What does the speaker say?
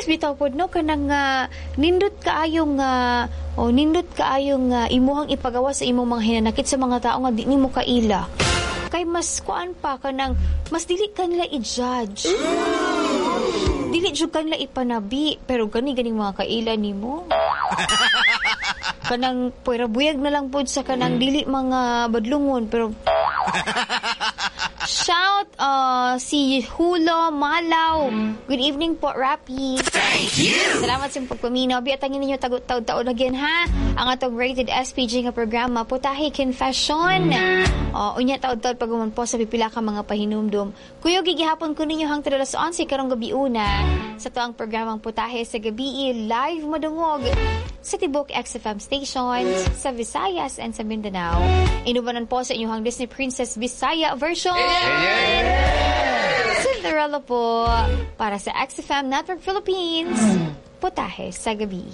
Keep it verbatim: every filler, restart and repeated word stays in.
bitaw pod no kanang uh, nindot kaayong uh, o nindot kaayong uh, imuhang ipagawa sa imong mga hinanakit sa mga tao nga di nimo kaila. Kay mas kuan pa kanang mas dili ka nila i-judge. Dili jud ka nila ipanabi pero gani ganing mga kaila nimo. Kanang puwera buyag na lang pod sa kanang dili mga badlungon pero Shout uh, si Hulo Malaw. Good evening po, Rapi. Thank you. Salamat sa pagpaminaw. Biatangin ninyo tagot taod-taod again ha. Ang atong rated S P G nga programa Putahe Confession. Uh, unya taod-taod pag po sa pipila ka mga pahinumdum. Kuyog gihapon ko ninyo hangtod alas onse karong gabi una sa tuang programang Putahe sa Gabi live madungog sa tibok X F M stations sa Visayas and sa Mindanao. Inubanan po sa inyong Disney Princess Bisaya version. Cinderella po para sa X F M Network Philippines. Putahe sa Gabi.